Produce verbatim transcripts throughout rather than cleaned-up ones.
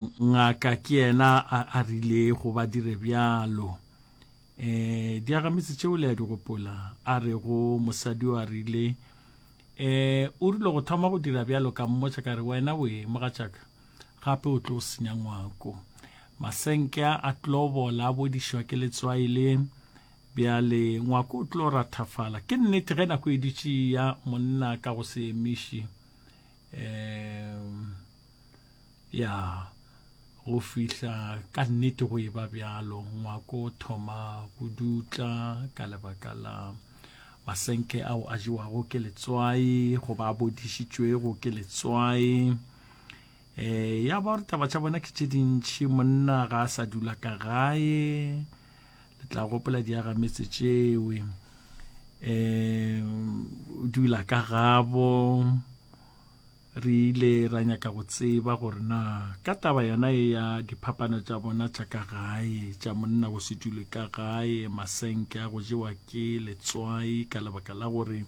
Ngaka ke yena a, a rilego ba dire bjalo. E, diagametse tšeo le a di gopola? A rego mosadi o a rile, e, o rile go thoma go dira bjalo ka mmotša ka re, wena we, mogatšaka, gape o tlo senya ngwako. Masenke a a tlo bola a bodišwa ke letswai le, bjale ngwako o tlo rathafala. Ke nnete ge nako e dutše e ya monna ka go se emiše, e, Ya, go fihla ka nnete go eba bjalo, ngwako o thoma go dutla ka lebaka la masenke ao a jewago ke letswai goba a bodišitšwego ke letswai. E, ya ba gore taba tša bona ke tše dintši, monna ga a sa dula ka gae, le tla gopola diagametse tšewe. E, o dula ka gabo. Re ile ra nyaka go tseba gore na ka taba yona ye ya diphapano tša bona tša ka gae, tša monna go se dule ka gae, masenke a go jewa ke letswai ka lebaka la gore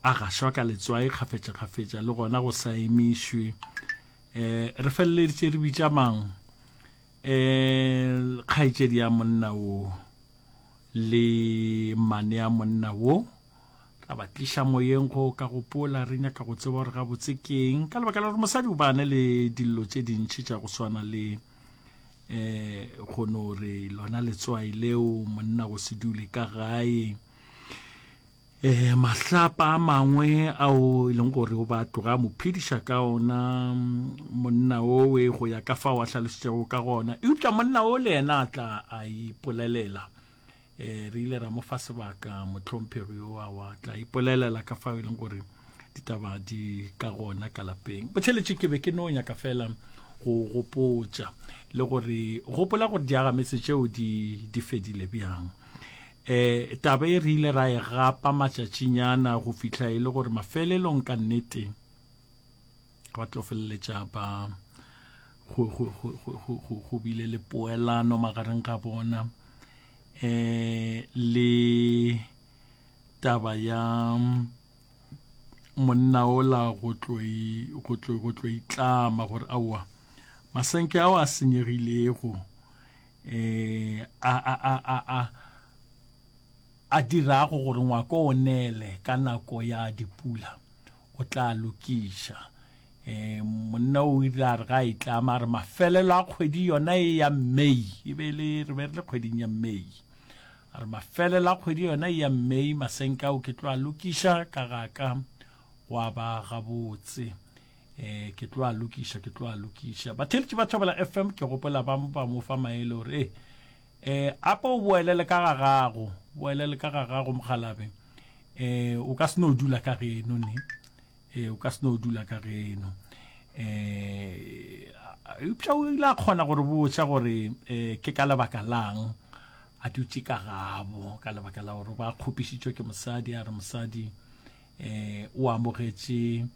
a gašwa ka letswai kgafetšakgafetša le gona go sa emišwe. Um re feleleditše re bitša mang? Um kgaetšedi ya monna wo le mmane ya monna wo. Ra ba tliša moyeng go ka gopola, re nyaka go tseba gore gabotse ke eng, ka lebaka la gore mosadi o bane le dillo tše dintši tša go swana le um go no re lona letswai leo monna go se dule ka gae, um mahlapa a mangwe ao e leng gore o ba tloga a mo phediša ka ona monna owe go ya ka fao a hlalositšego ka gona. Eupša monna o le yena a tla a ipolelela. E, re ile ra mo fa sebaka mohlomphegi yo a wa tla ipolelela ka fao e leng gore ditaba di ka gona ka lapeng. Botheletše ke be ke no nyaka fela go gopotša le gore gopola gore diagametse tšeo di di fedile bjang. E, taba e re ile ra e gapa matšatšinyana go fihla e le gore mafelelong ka nnete ba tlo feleletša ba go, go, go, go, go, go bile le poelano magareng ga bona. Eh, le taba ya monna ola go tlo go tlo go tlo itlama gore aowa masenke ao a senyegilego eh a a a a a a dirago gore ngwako o nele ka nako ya dipula o tla lokiša. E, monna o ile a re ga a itlama a re mafelelo a kgwedi yona e ya May, e be le re be re le kgweding ya May, a re mafelelo a kgwedi yona e ya May masenke ao ke tlo a lokiša ka ga ka gwa ba gabotse. E, ke tlo a lokiša, ke tlo a lokiša. Batheeletši ba Thobela F M ke gopola ba ba mo fa maele gore e, e, ape o boelele ka ga gago, boelele ka ga gago mokgalabe. E, o ka se no dula ka geno ne. E, o ka se no dula ka geno. E, eupša o ile a kgona gore botša gore e, ke ka lebaka lang a dutše ka gabo, ka lebaka la gore ba kgopišitšwe ke mosadi. A re mosadi e, o amogetše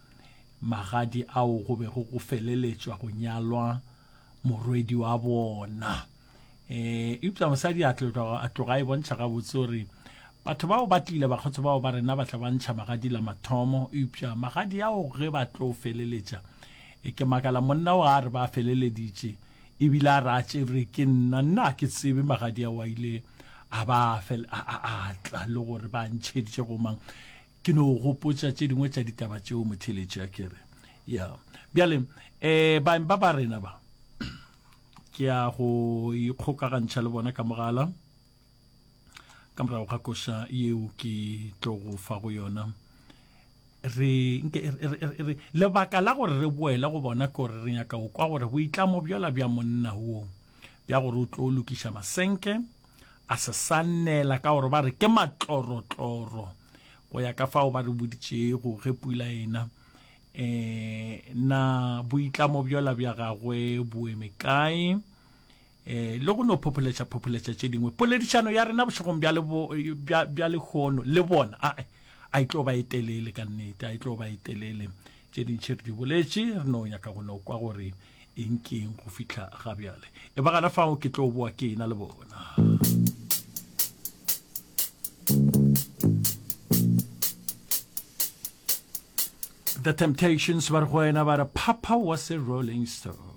magadi ao go bego go feleletšwa go nyalwa morwedi wa bona. E, eupša mosadi a tloga, a tloga e bontšha gabotse gore batho bao ba tlile, bakgotsi bao ba rena ba tla ba ntšha magadi la mathomo, eupša magadi ao ge ba tlo feleletša, e ke makala monna o a re ba feleleditše, ebile a re a tšere ke nna, nna a ke tsebe magadi ao a ile a ba fel-, a, a, a tla le gore ba ntšheditše go mang. Ke no gopotša tše dingwe tša ditaba tšeo motheletši a kere. Ya. Bjale, eh, baeng ba ba rena ba, ke ya go ikgokagantšha le bona ka mogala ka morago ga koša yeo ke tlo go fa go yona. Re, nke, re, re, re, re, lebaka la gore re boele go bona ke gore re nyaka go kwa gore boitlamo bjola bja monna wo bja gore o tlo lokiša masenke a se sa nela ka gore ba re ke matlorotloro go ya ka fao ba re boditšego ge pula ena. Eh, na boitlamo bjola bja gagwe bo eme kae? Eh, le go no phopholetša phopholetša tše dingwe. Poledišano ya rena bošegong bja lebo, bja, bja lehono le bona, a, a e tlo ba e telele ka nnete, a e tlo ba e telele. Tše dintši re di boletše, re no nyaka go no kwa gore eng ke eng go fihla ga bjale. E ba gana fao ke tlo boa ke ena le bona. The Temptations ba re go wena ba re Papa was a Rolling Stone.